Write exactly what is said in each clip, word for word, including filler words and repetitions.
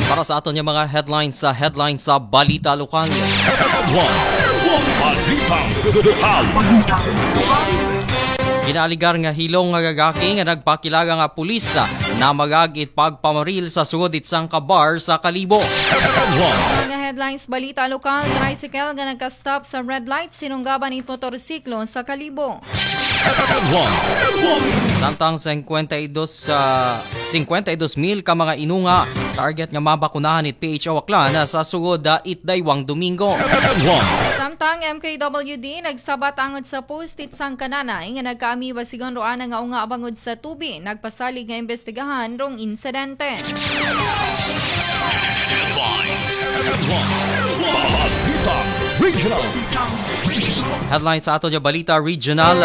Para sa aton nga mga headlines sa headlines sa balita lokal. Headline. Balitang lokal. Ginaaligar nga hilong nga gagaki nga nagpakilala nga pulis na magagit pagpamaril sa sugod it sangka bar sa Kalibo. Headline. Mga headlines balita lokal, tricycle nga nagka-stop sa red light, sinunggaban it motorsiklo sa Kalibo. Headline. Samtang singkwenta y dos, ah, singkwenta y dos mil ka mga inunga target nga mabakunahan it P H O Aklan sa sugod, ah, it daywang Domingo. Headline. Samtang M K W D nagsabat angod sa post it sangkananay nga nagkaamiba sigon ro ana nga unga bangod sa tubi, nagpasalig nga imbestigahan rong insidente. Headlines. Headline. Balitang regional. Headline sa aton nga balita regional.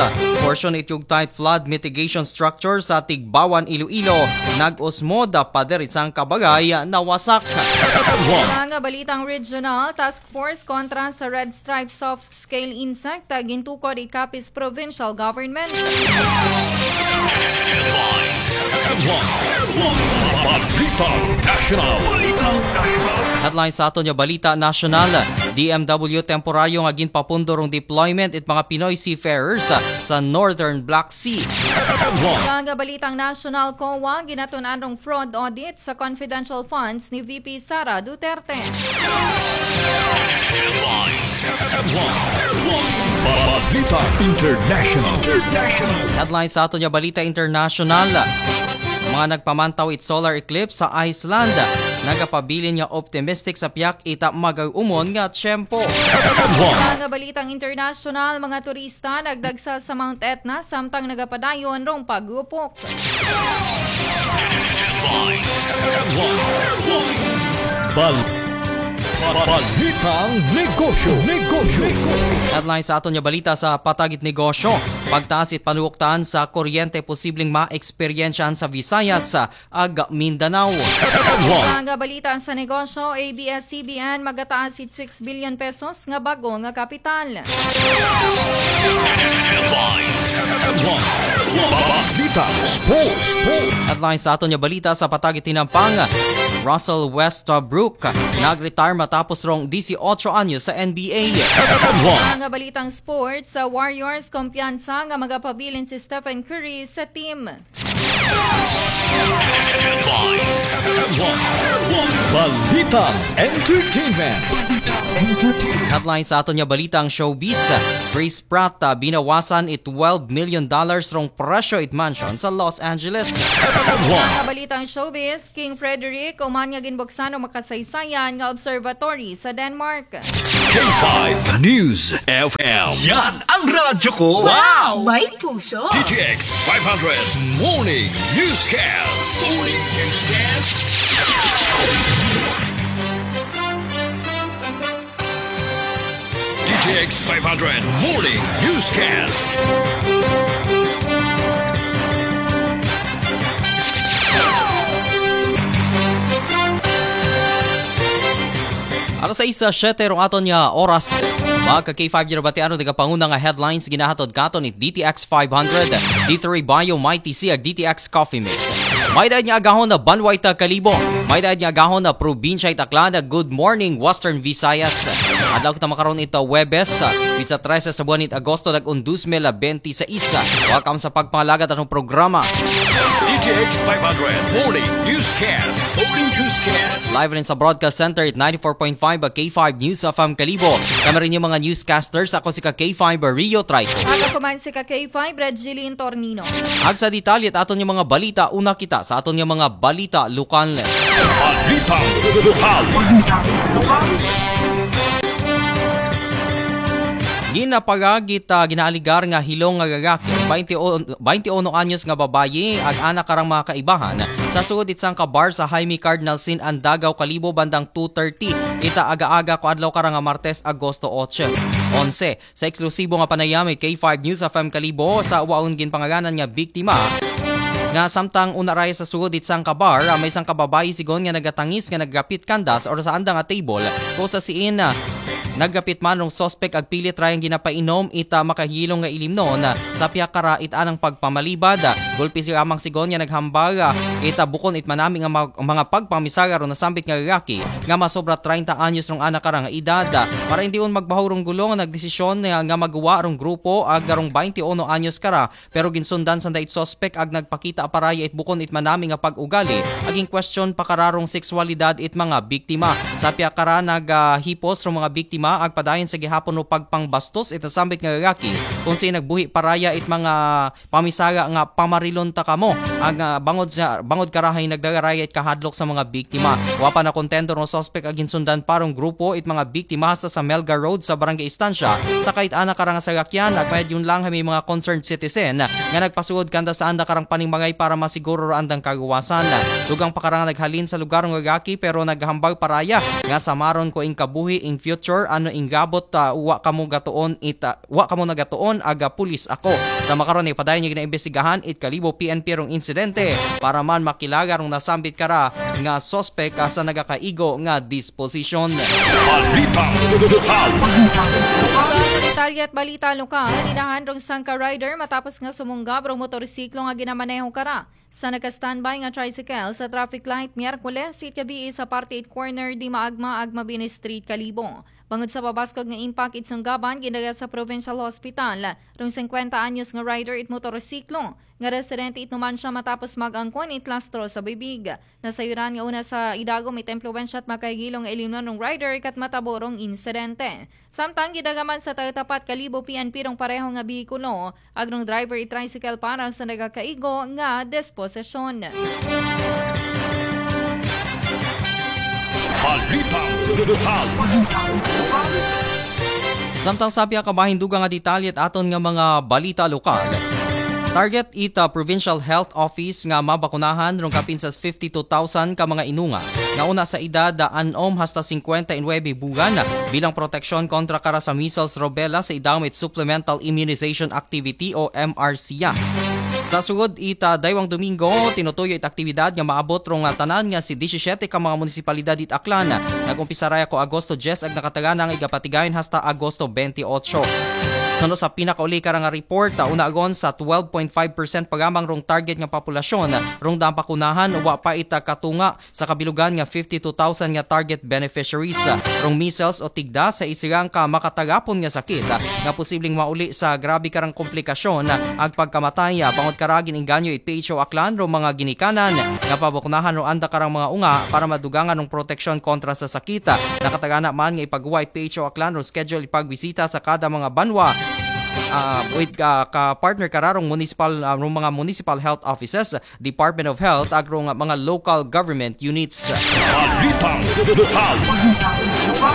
Portion it Yugtay flood mitigation structure sa Tigbawan, Iloilo, nag-usmod pader it sangka bagay nawasak. Headline. Mga balitang regional, task force kontra sa red stripe soft scale insect, gintukod it Capiz Provincial Government. Headline. Balitang national. Balitang national. Headline sa aton nga balita nasyonal, D M W temporaryo nga ginpapundo rong deployment it mga Pinoy seafarers sa Northern Black Sea. Headline. Mga balitang national, COA ginatun-an rong fraud audit sa confidential funds ni V P Sara Duterte. Headline. Balitang international. International. Headline sa aton nga balita international. Mga nagpamantaw it solar eclipse sa Iceland, nagapabilin nga optimistic sa piyak ita mag-umon nga tiyempo. Headline. Mga balitang international, mga turista nagdagsa sa Mount Etna samtang nagapadayon rong pag-upok. Headline. Bal- Balitang negosyo. Negosyo. Headline sa aton nga balita sa patag it negosyo. Pagtaas it panuoktan sa kuryente posibleng ma-eksperyensyahan sa Visayas ag Mindanao. Headline. Mga balita sa negosyo, A B S C B N magataas it six billion pesos nga bago nga kapital. Headline. Balitang sports. Sports. Headline sa aton nga balita sa patag it tinampang, Russell Westbrook nag-retire matapos rong disiotso anyos sa N B A. Headline. Mga balitang sports, sa Warriors kumpiyansa nga magapabilin si Stephen Curry sa team. Headline. Balitang entertainment. Entertainment. Headline sa aton nga balita ang showbiz. Chris Pratt, ah, binawasan it twelve million dollars rong presyo it mansion sa Los Angeles. Headline. Mga balitang showbiz, King Frederick, uman nga ginbuksan ang makasaysayan nga observatory sa Denmark. K five News F M. Yan ang radyo ko. Wow! May puso. D T X five hundred Morning Newscast. Morning Newscast. D T X five hundred Morning Newscast. Alas sais, ah, siyete rong aton nga oras. Mga ka K five, ginabatian rong nagapanguna nga headlines ginahatod katon ni D T X five hundred, D three Bio, Mighty C, ag D T X Coffee Mix. May daad nga agahon na banway ta Kalibo. May daad nga agahon na probinsya it Aklan. Good morning, Western Visayas. Adlaw kita makaron ito Webes, ah, pizza trese sa buwan it Agosto, nag-un dos mil benti sais. Welcome sa pagpangalagad atong programa. D T X five hundred Morning Newscast. Morning Newscast. Live rin sa Broadcast Center at ninety-four point five K five News F M Kalibo. Kami rin yung mga newscasters. Ako si ka K five Rio Trico. Ako man si ka K five, Red Jeline Tornino. Ag sa detalye at aton yung mga balita, una kita sa aton yung mga balita lokal. Balitang lokal. Ginapagagit, ah, ginaaligar nga hilong nga gagaki, baynte o, baynte uno anyos nga babayi, ag anak karang mga kaibahan, sa sugod it sangka bar sa Jaime Cardinal Sin Andagaw Kalibo bandang two thirty ita aga-aga ko adlaw karang nga Martes, Agosto otse, onse. Sa eksklusibo nga panayam it K five News F M Kalibo sa waon ginpangaganan nga biktima nga samtang una raya sa sugod it sangka bar, ah, may sangka babayi sigon nga nagatangis nga nagapit kandas or sa andang nga table, ko sa siin, ah, Naggapit man rong suspek ag pilit rayang ginapainom ita makahilong nga ilimnon sa pihak kara it anang pagpamalibad. Gulpi si amang sigon nga naghambal ita bukon it manami nga mag- mga pagpamisara rong nasambit nga lalaki nga masobra treinta anyos rong ana kara nga edad. Para hindi un magbahog rong gulo nga nagdesisyon nga, nga maguwa rong grupo ag rong twenty-one anyos kara, pero ginsundan sanda it suspek ag nagpakita paraya it bukon it manami nga pag-ugali, ag in question pa kara rong sexualidad it mga biktima. Sa pihak kara nagahipos rong mga biktima ag padayon sa gihapon rong pagpangbastos it nasambit nga lalaki kung saan nagbuhi paraya it mga pamisara nga pamarilon ta kamo. Ag, ah, bangod sa, bangod kara hay nagdala raya it kahadlok sa mga biktima. Wa pa nakontento rong suspek ag ginsundan pa rong grupo it mga biktima hasta sa Melgar Road sa Barangay Estancia. Sakay it ana kara nga salakyan, ag mayad yun lang hay may mga concerned citizen nga nagpasugod kanda sa anda karang paningmangay para masiguro ra andang kaluwasan. Dugang pa kara nga naghalin sa lugar rong lalaki, pero naghambal paraya nga samaron ko in kabuhi, in future, ano in gabot, ah, wa kamo gatuon ita, wa kamo nagatuon, aga pulis ako. Sa makaron, ipadayon nga ginaimbestigahan it Kalibo P N P rong insidente para man makilala rong nasambit kara nga suspek, ah, sa nagakaigo nga disposisyon. Balitang lokal. Mga detalye at balita lokal, inahan rong sangka rider matapos nga sumunggab rong motorsiklo nga ginamaneho kara sa naka-standby nga tricycle sa traffic light Miyerkules it gabii sa parte it corner Dimaagma ag Mabini Street, Kalibo. Bangod sa pabaskog nga impact it sunggaban, gindala sa Provincial Hospital rong singkwenta anyos nga rider it motorsiklo nga residente it Numancia matapos mag-angkon it lastro sa bibig. Nasayuran nga una sa idagom it impluwensya at makahigilong nga ilimnon rong rider kat matabo rong insidente. Samtang gidala man sa Tayo Tapat Kalibo P N P rong pareho nga behikulo, ag rong driver it tricycle para sa nagakaigo nga disposisyon. Balitang lokal. Samtang sa pihak kabahin, dugang nga detalye it aton nga mga balita lokal. Target it, ah, Provincial Health Office nga mabakunahan rong kapin sa fifty-two thousand ka mga inunga nga una sa edad, ah, anom hasta singkwenta y nuebe bulan bilang proteksyon kontra kara sa measles, rubella sa idagom it Supplemental Immunization Activity o M R C A. Sa sugod it, ah, daywang Domingo, tinutuyo it aktibidad nga maabot rong, ah, tanan nga si disisyete ka mga munisipalidad it Aklan. Nag-umpisa raya ko Agosto dyes ag nakatagana nga igapatigayon hasta Agosto twenty-eight. Suno sa pinakauli kara nga report, ah, una agon sa twelve point five percent pa lamang rong target nga populasyon rong daang bakunahan, wa pa ita katunga sa kabilugan nga fifty-two thousand nga target beneficiaries. Rong measles o tigda sa isirang ka makatarapon nga sakit, ah, nga posibleng mauli sa grabe karang komplikasyon, ah, ag pagkamatay, ah, bangod kara gin-inganyo it P H O Aklan rong mga ginikanan nga pabakunahan rong anda karang mga unga para madugangan rong proteksyon kontra sa sakit. Ah, nakatagana man nga ipaguwa it P H O Aklan rong schedule ipagbisita sa kada mga banwa, ah, with, ah, ka partner kara rong municipal, ah, rong mga municipal health offices, Department of Health, ag rong mga local government units. Balitang lokal.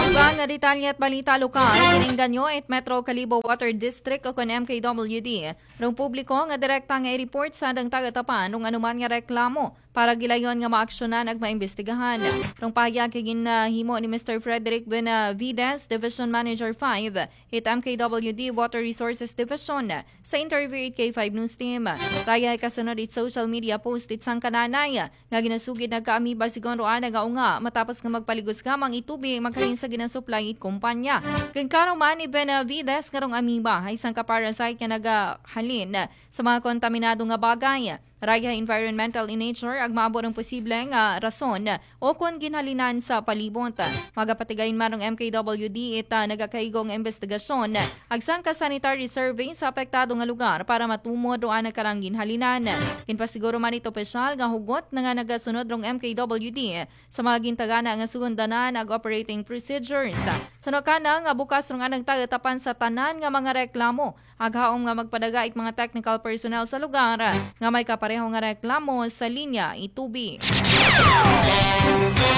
Dugang nga detalye at balita lokal, gin-inganyo it Metro Kalibo Water District o kon M K W D rong publiko nga direkta nga i-report sa andang taga-Tapan rong anuman nga reklamo para gilayon nga maaksyonan ag maimbestigahan. Rong pahayag kay ginhimo ni Mister Frederick Benavides, Division Manager five, it M K W D Water Resources Division, sa interview it K five News Team. Raya kasunod it social media post it sangka nanay nga ginasugid nagka-amoeba sigon rong ana nga unga matapos nga magpaligos gamang it tubig maghalin sa ginasuplay it kumpanya. Ginklaro man ni Benavides nga rong amoeba hay sangka parasite nga nagahalin sa mga kontaminado nga bagay. Raya environmental in nature ag maabot ang posible nga rason o kon ginhalinan sa palibot. Magapatigayon man rong M K W D it, ah, nagakaigo nga imbestigasyon ag sangka sanitary survey sa apektado nga lugar para matumod rong ana karang ginhalinan. Ginpasiguro man it opisyal nga hugot na nga nagasunod rong M K W D sa mga gintagana nga sugundanan ag operating procedures. Suno kana nga bukas rong anang taga-Tapan sa tanan nga mga reklamo ag haom nga magpadaga it mga technical personnel sa lugar nga may kapareho nga reklamo sa linya it tubig.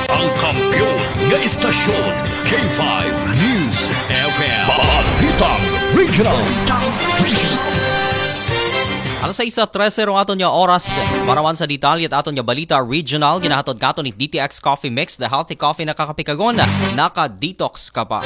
Ang kampiyon nga istasyon, K five News F M. Balitang Regional. Alas sais trese rong aton nga oras. Para man sa detalye it aton nga balita regional, ginahatod katon ni D T X Coffee Mix, the healthy coffee na kakapikagon, naka-detox ka pa.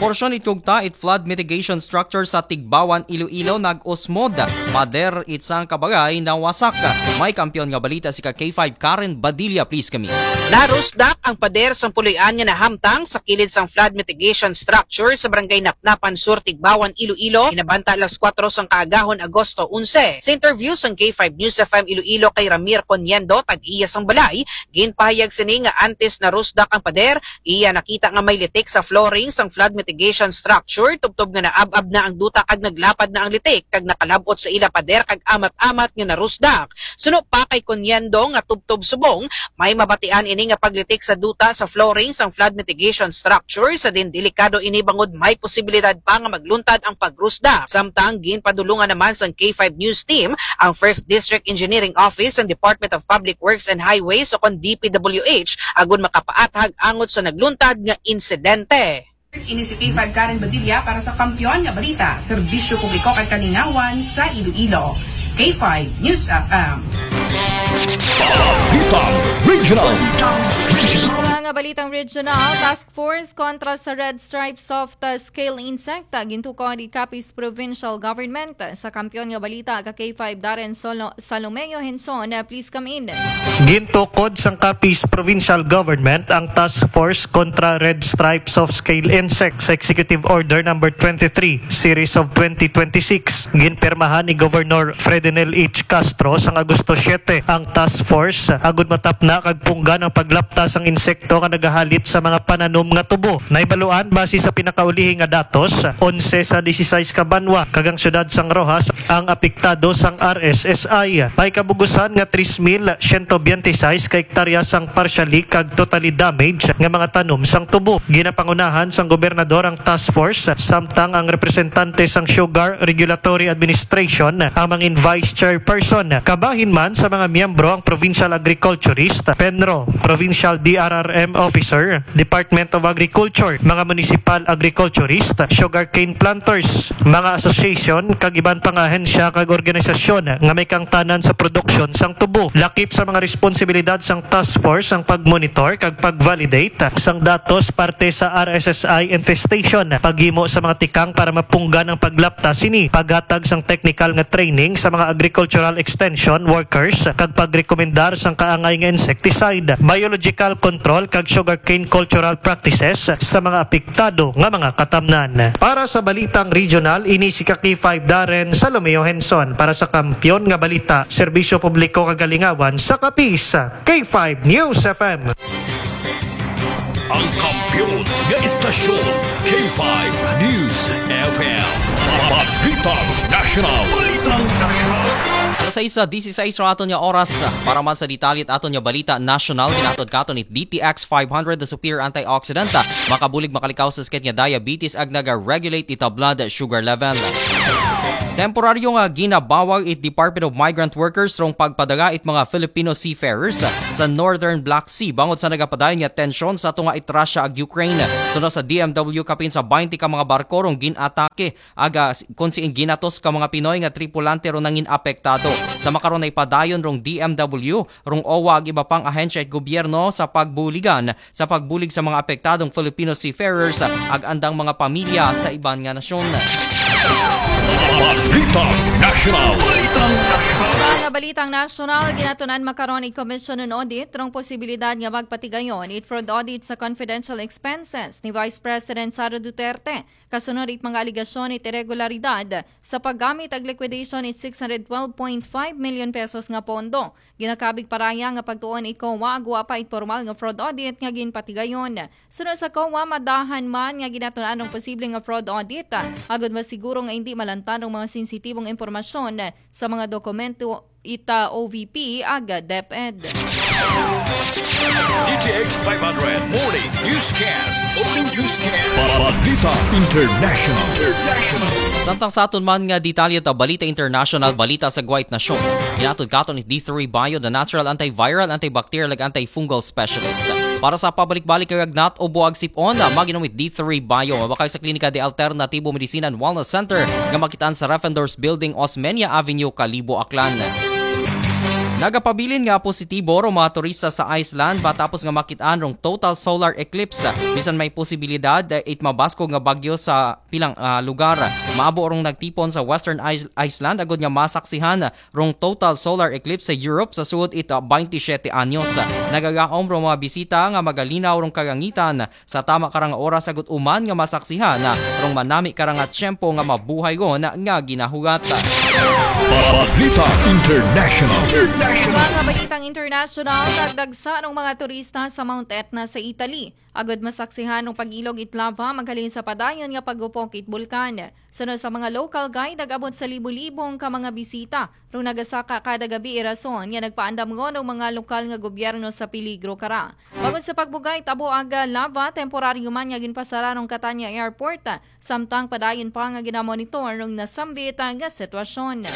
Porsyon it kugta it flood mitigation structure sa Tigbawan, Iloilo, nag-usmod. Pader it sangka bagay nawasak. May kampiyon nga balita si ka K five Karen Badilla, please kami. Narusdak ang pader sang puloy-an nga nahamtang sa kilid sang flood mitigation structure sa Barangay Napnapan Sur, Tigbawan, Iloilo, hinabanta alas kuwatro sang kaagahon, Agosto onse. Sa interview sang K five News F M Iloilo kay Ramir Coniendo, tag-iya sang balay, ginpahayag sini nga antes narusdak ang pader, iya nakita nga may litik sa flooring sang flood mitigation structure, tubtob nga naab-ab na ang duta kag naglapad na ang litik kag nakalab-ot sa ila pader kag amat-amat nga narusdak. Suno pa kay Coniendo nga tubtob subong, may mabatian ini nga paglitik sa duta sa flooring sang flood mitigation structure, sa din delikado ini bangod may posibilidad pa nga magluntad ang pagrusdak. Samtang ginpadulungan naman sang K five News Team ang First District Engineering Office sang Department of Public Works and Highways o kon D P W H agud makapaathag angot sa nagluntad nga insidente. Ini si K five Karen Badilla para sa Kampiyon nga Balita, Serbisyo Publiko kag Kalingawan sa Iloilo. K five News F M. Balitang Regional. Mga balitang regional, Task Force kontra sa Red Stripe Soft Scale Insect, gintukod ni Capiz Provincial Government. Sa Kampiyon nga Balita, ka K five Darren Solo, Salomeo Henson, please come in. Gintukod sang Capiz Provincial Government ang Task Force kontra Red Stripe Soft Scale Insect sa Executive Order number twenty-three, Series of twenty twenty-six. Ginpirmahan ni Governor Ferdinand H. Castro sang Agosto siyete ang task force agud matapna kag punggan ang paglapta sang insekto nga nagahalit sa mga pananom nga tubo. Nahibaluan, base sa pinakaulihing nga datos, onse sa disisais ka banwa kag ang siyudad sang Roxas ang apektado sang R S S I. May kabugusan nga tres mil siyento biyente sais ka hektarya sang partially kag totally damage nga mga tanom sang tubo. Ginapangunahan sang gobernador ang task force, samtang ang representante sang Sugar Regulatory Administration ang mangin vice chairperson. Kabahin man sa mga miyembro ang Provincial Agriculturist, PENRO, Provincial D R R M Officer, Department of Agriculture, mga municipal agriculturist, sugarcane planters, mga association, kag iban pang ahensya kag organisasyon nga may kaangtanan sa produksyon sang tubo. Lakip sa mga responsibilidad sang task force ang pagmonitor kag pag-validate sang datos parte sa R S S I infestation, paghimo sa mga tikang para mapunggan ang paglapta sini, paghatag sang technical nga training sa mga agricultural extension workers, kag pagrekomendar sang kaangay nga insecticide, biological control, kag sugarcane cultural practices sa mga apektado nga mga katamnan. Para sa Balitang Regional, ini si ka K five Darren Salomeo Henson para sa Kampiyon nga Balita, Serbisyo Publiko kag Kalingawan sa Capiz, K five News F M. Ang kampiyon nga istasyon, K five News F M. Balitang National. Balitang National. Alas sais disisais ra aton nga oras. Para man sa detalye it aton nga balita national, ginahatod katon it D T X five hundred, the superior antioxidant, makabulig makalikaw sa sakit nga diabetes ag naga-regulate it blood sugar level. Temporaryo nga ginabawag it Department of Migrant Workers rong pagpadaga it mga Filipino seafarers sa Northern Black Sea bangod sa nagapadayon nga tensyon sa tunga it Russia ag Ukraine. Suno sa D M W, kapin sa baynte ka mga barko rong gin-atake aga s- kon siing ginatos ka mga Pinoy nga tripulante ron nangin apektado. Sa makaron, naipadayon rong D M W, rong owa ag iba pang ahensya it gobyerno sa pagbuligan sa pagbulig sa mga apektadong Filipino seafarers ag andang mga pamilya sa iban nga nasyon. Balitang National. Mga balitang nasyonal, ginatun-an makaron it Commission on Audit rong posibilidad nga magpatigayon it fraud audit sa confidential expenses ni Vice President Sara Duterte kasunod it mga alegasyon it iregularidad sa paggamit ag liquidation it six hundred twelve point five million pesos nga pondo. Ginakabig paraya nga pagtuon it COA agwa pa it pormal nga fraud audit nga ginpatigayon. Suno sa COA, madahan man nga ginatun-an ang posible nga fraud audit, agud masiguro nga indi malantan ang mga sensitibong impormasyon sa mga dokumento ita O V P ag DepEd. D T X five hundred Morning Newscast. Morning Newscast. Balita International. International. Samtang sa aton man nga detalye ta balita international, balita sa Guwait Nasyon. Ginatod katon ni D three Bio, the natural antiviral, antibacterial, ag antifungal specialist. Para sa pabalik-balik kag lagnat, ubo ag sip-on, mag-inom it D three Bio. Mabakal sa Klinika de Alternativo Medicina and Wellness Center nga makitaan sa Reffendorf's Building, Osmeña Avenue, Kalibo, Aklan. Nagapabilin nga positibo rong mga turista sa Iceland matapos nga makit-an rong total solar eclipse. Bisan may posibilidad, eh, it mabaskog nga bagyo sa pilang, ah, lugar. Maabo rong nagtipon sa Western Is-, Iceland agud nga masaksihan rong total solar eclipse sa Europe sa suod it, ah, twenty-seven anyos. Nagagaom rong mga bisita nga magalinaw rong kalangitan sa tama karang oras agud uman nga masaksihan rong manami karang tiyempo nga mabuhay gon nga ginahugat. Balita International. International. Mga balitang international, nagdagsa ng mga turista sa Mount Etna sa Italy. Agud masaksihan ng pag-ilog it lava maghalin sa padayon nga pagupok it bulkan. Sunod sa mga local guide, nag-abot sa libo-libong ka mga bisita rong nagasaka kada gabi, irason nga nagpaandam ngon ang mga lokal nga gobyerno sa peligro kara. Bangod sa pagbuga it abuag lava, temporaryo man nga ginpasara rong Catania Airport, samtang padayon pa nga ginamonitor rong nasambit nga sitwasyon.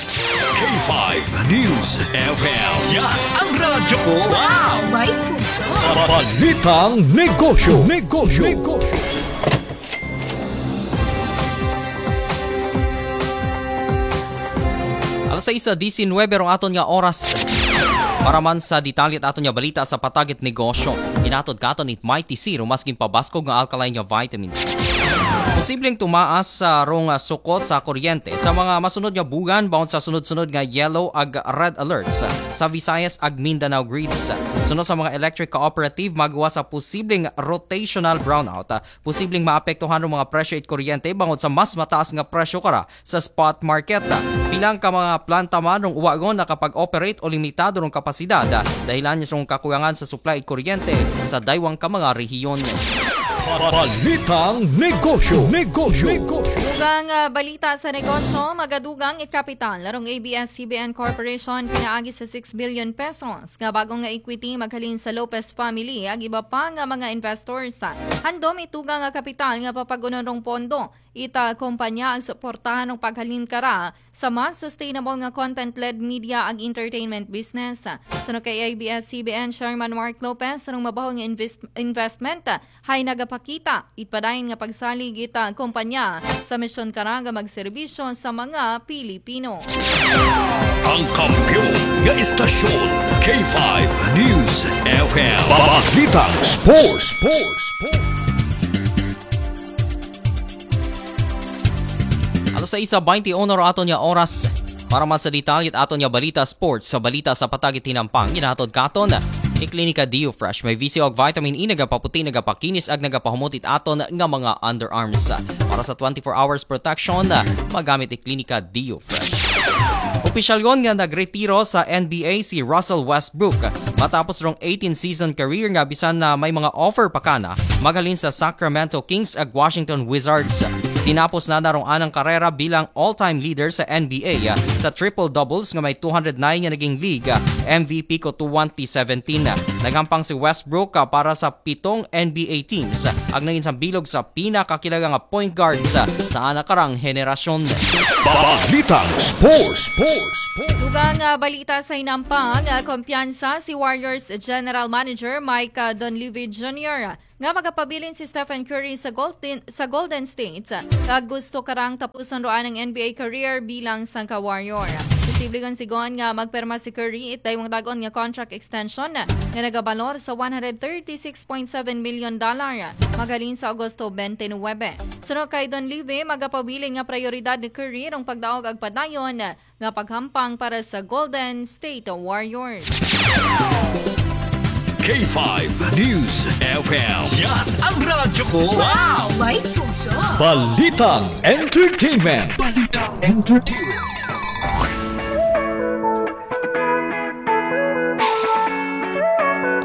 K five News F M. Yan ang radyo ko. Wow! May puso. Balitang negosyo. Negosyo. Negosyo. Alas sais disinwebe rong aton nga oras. Para man sa detalye it aton nga balita sa patag it negosyo, hinatod katon it Mighty C rong mas ginpabaskog nga alkaline nga vitamins. Posibleng tumaas sa rong, ah, sukot sa kuryente sa mga masunod nga buwan bangod sa sunod-sunod nga yellow ag red alerts sa Visayas ag Mindanao grids. Sunod sa mga electric cooperative, magawas sa posibleng rotational brownout. Posibleng maapektuhan rong mga presyo it kuryente bangod sa mas mataas nga presyo kara sa spot market. Pilang ka mga planta man rong wa gon nakapag-operate o limitado rong kapasidad dahilan rong kakulangan sa supply it kuryente sa daywang ka mga rehiyon. Balitang negosyo. Negosyo. Negosyo. Dugang, ah, balita sa negosyo, magadugang it kapital rong A B S C B N Corporation pinaagi sa six billion pesos nga bag-o nga equity maghalin sa Lopez family ag iba pa nga mga investors. Handom it dugang nga kapital nga papag-unon rong pondo it, ah, kompanya ag suportahan rong paghalin kara sa mas sustainable nga content-led media ag entertainment business. Suno kay A B S C B N Chairman Mark Lopez, rong mabaho nga invest-, investment hay nagapakita it padayon nga pagsalig it, ah, kompanya sa misyon kara nga magserbisyo sa mga Pilipino. Ang kampiyon nga istasyon, K five News F M. Balitang Sports. Sports. Sports. Alas sais baynte uno rong aton nga oras. Para man sa detalye it aton nga balita sports, sa balita sa patag it hinampang, ginahatod katon ni Klinika Dio Fresh. May V C O ag vitamin E, nagapaputi, nagapakinis, ag nagapahumot it aton nga mga underarms. Para sa twenty-four hours protection, magamit it Klinika Dio Fresh. Opisyal gon nga nagretiro sa N B A si Russell Westbrook matapos rong eighteen season career nga bisan na may mga offer pa kana maghalin sa Sacramento Kings ag Washington Wizards. Tinapos na na rong anang karera bilang all-time leader sa N B A, ah, sa triple-doubles nga may two hundred nine nga naging league, ah, M V P ko twenty seventeen. Naghampang si Westbrook, ah, para sa pitong N B A teams, ah, ag nangin sambilog sa pinakakilala nga point guards, ah, sa ana karang henerasyon. Balitang Sports. Sports. Dugang, ah, balita sa hinampang, ah, kumpiyansa si Warriors General Manager Mike, ah, Dunleavy Junior nga magapabilin si Stephen Curry sa Golden, sa Golden State, kag gusto karang tapuson ro anang N B A career bilang sangka Warrior. Posible kon sigon nga magpirma si Curry it daywang dag-on nga contract extension nga nagabalor sa one hundred thirty-six point seven million dollar maghalin sa Agosto twenty-nine. Suno kay Dunleavy, magapabilin nga prayoridad ni Curry rong pagdaog ag padayon nga paghampang para sa Golden State Warriors. K five News F M. Yan ang radyo ko. Wow! May puso. Balitang entertainment. Balitang entertainment.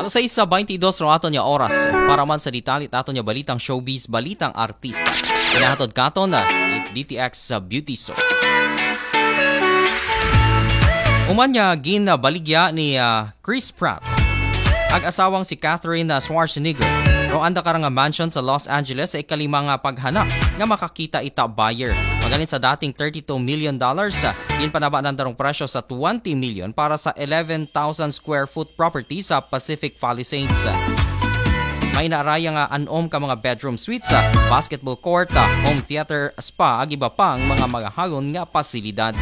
Alas sais sa baynte dos rong aton nga oras. Para man sa detalye it aton nga balitang showbiz, balitang artista, ginahatod katon ni D T X sa Beauty Soap. Uman nga ginbaligya ni, ah, Chris Pratt ag asawang si Katherine, ah, Schwarzenegger rong anda karang mansion sa Los Angeles sa ikalima nga paghanap nga makakita it buyer. Maghalin sa dating thirty-two million dollars, ah, ginpanaba nanda rong presyo sa twenty million para sa eleven thousand square foot property sa Pacific Palisades. May naaraya nga anom ka mga bedroom suites, ah, basketball court, ah, home theater, spa, ag iba pang mga magahagon nga pasilidad.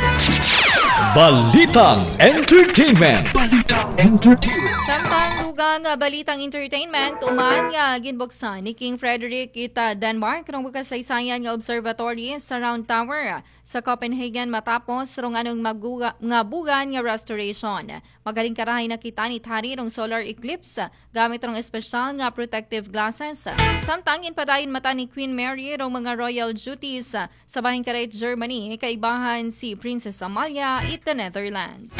Balitang Entertainment. Balitang Entertainment. Samtang dugang nga balitang entertainment, human nga ginbuksan ni King Frederick it Denmark rong makasaysayan nga observatory sa Round Tower sa Copenhagen matapos rong anong maguga, nga bugan nga restoration. Magaling karahay nakita ni Tari rong solar eclipse gamit rong espesyal nga protective glasses. Samtang ginpadayon mata ni Queen Mary rong mga royal duties sa bahin karit Germany, kaibahan si Princess Amalia it the Netherlands.